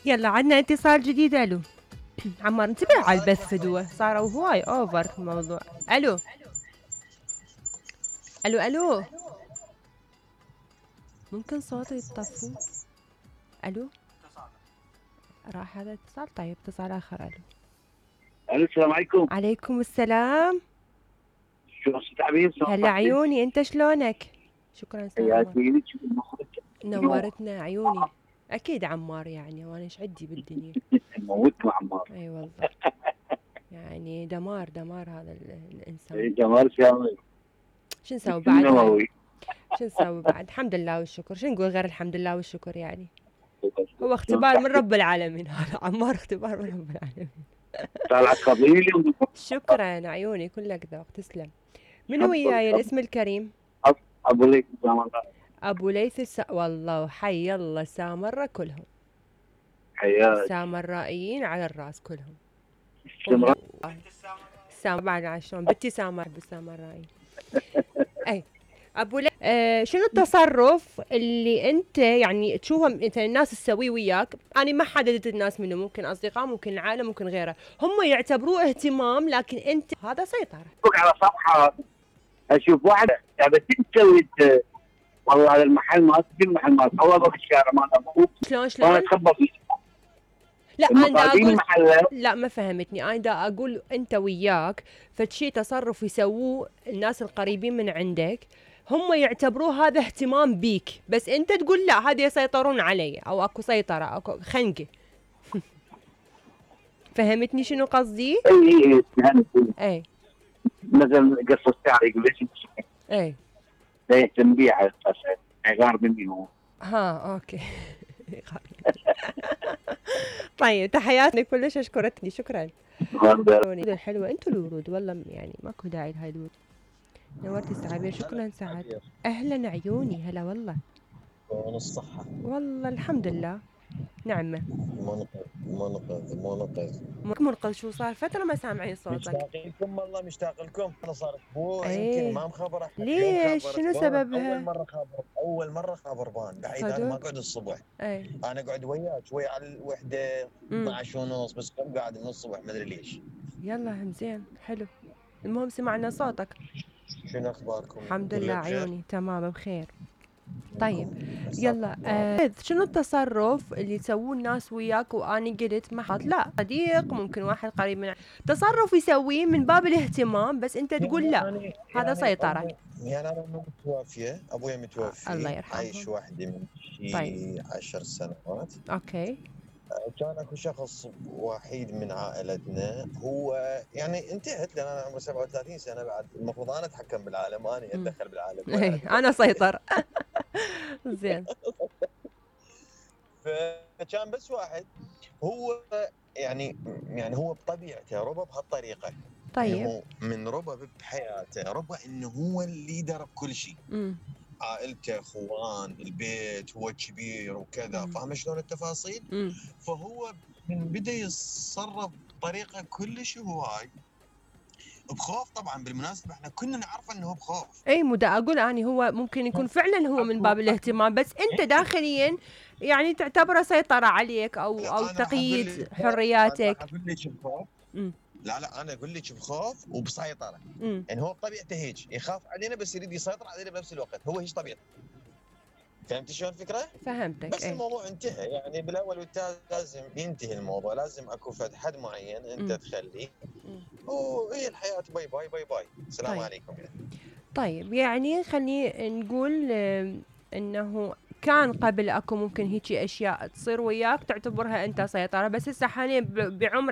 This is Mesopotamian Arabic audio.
يلا عندنا اتصال جديد. الو عمار انتبه على البث فدوه، صاروا هواي اوفر الموضوع. الو الو الو، ممكن صوته يتطفوا؟ الو راح هذا اتصال. طيب اتصال اخر. الو الو السلام عليكم. عليكم السلام. شو استاذ عبير؟ هلا عيوني، انت شلونك؟ شكرا استاذ عمار، حياتي نورتنا عيوني. اكيد عمار يعني، وانا ايش عندي بالدنيا. موتكم عمار. اي والله يعني دمار دمار هذا الانسان. جمال شامل. شو نسوي بعد هاي؟ شو نسوي بعد؟ الحمد لله والشكر. شو نقول غير الحمد لله والشكر يعني؟ هو اختبار من رب العالمين هذا عمار، اختبار من رب العالمين. طلعت قبيلي. شكرا عيوني، كلك ذوق، تسلم. من وياي الاسم الكريم؟ ابو ليث سامره. ابو ليث والله وحي الله سامره كلهم. حياك. السامرائيين على الراس كلهم. استمرار. بعد شلون بنتي سامر بالسامرائيين. اي ابو شنو التصرف اللي انت يعني تشوفه انت الناس تسويه وياك؟ انا ما حددت الناس منه، ممكن اصدقاء، ممكن العائله، ممكن غيره، هم يعتبروه اهتمام لكن انت هذا سيطره. على صفحه اشوف واحد يعني تسوي والله هذا المحل ما في المحل ما هو في الشارع ما ابوك. شلون انا اتخبى فيه. لا انا دا اقول لا ما فهمتني. انا دا اقول انت وياك فشي تصرف يسووه الناس القريبين من عندك، هم يعتبروه هذا اهتمام بيك، بس انت تقول لا هذا يسيطرون علي او اكو سيطره اكو خنقه. فهمتني شنو قصدي؟ اي مثلا قص الشعر يقول ليش اي لا يهتم بيه على اساس غار مني هو. ها اوكي. طيب تحياتي كلش، اشكرتني شكرا. الحلوه انتوا الورود والله يعني ماكو داعي لهاي الورود. نورتي استعابير. شكرا سعد. اهلا عيوني هلا والله. شلون الصحة؟ والله الحمد لله نعمة. منقذ شو صار؟ فترة ما سامعين صوتك. مشتاق لكم والله، مشتاق لكم. انا صار اسبوع يمكن ما مخبر احد. ليش؟ شنو سببها؟ اول مرة خابر بان بعيد. انا ما اقعد الصبح. انا اقعد وياك شوي على الوحدة 12 ونص، بس كم قاعد من الصبح ما ادري ليش. يلا زين حلو، المهم سمعنا صوتك. شنو اخباركم؟ الحمد لله عيوني تمام بخير. طيب يلا شنو التصرف اللي يسووه الناس وياك واني قلت ما حط لا صديق ممكن واحد قريب من تصرف يسويه من باب الاهتمام بس انت تقول لا هذا سيطرة. يعني انا متوفية، ابويا متوفي، الله يرحمه، عايش وحدي من شي 10 سنوات. اوكي. كان اكو شخص وحيد من عائلتنا، هو يعني انتهت لان انا عمري 37 سنه، بعد المفروض انا اتحكم بالعالم، انا اتدخل بالعالم. انا سيطر. زين. فكان بس واحد هو يعني هو بطبيعته ربى بهالطريقه. طيب يعني هو من ربى بحياته ربى انه هو الليدر بكل شيء. عائلته، اخوان، البيت، هو كبير وكذا، فاهم شلون التفاصيل؟ فهو من بدا يتصرف بطريقه كلش هواي بخوف. طبعا بالمناسبه احنا كنا نعرف انه هو بخوف. اي مو اقول اني هو ممكن يكون فعلا هو من باب الاهتمام، بس انت داخليا يعني تعتبره سيطره عليك او تقييد حرياتك. اقول لك بخوف. لا انا اقول لك بخوف وبسيطره. يعني هو بطبيعته هيك يخاف علينا بس يريد يسيطر علينا بنفس الوقت، هو هيك طبيعته. فهمت شلون الفكره؟ فهمتك. بس الموضوع انتهى يعني بالاول والتالي. لازم ينتهي الموضوع، لازم اكو حد معين انت تخليه، وهي الحياه. باي باي باي باي، السلام طيب. عليكم. طيب يعني خليني نقول انه كان قبل اكو ممكن هيجي اشياء تصير وياك تعتبرها انت سيطره، بس هسه حاليا بعمر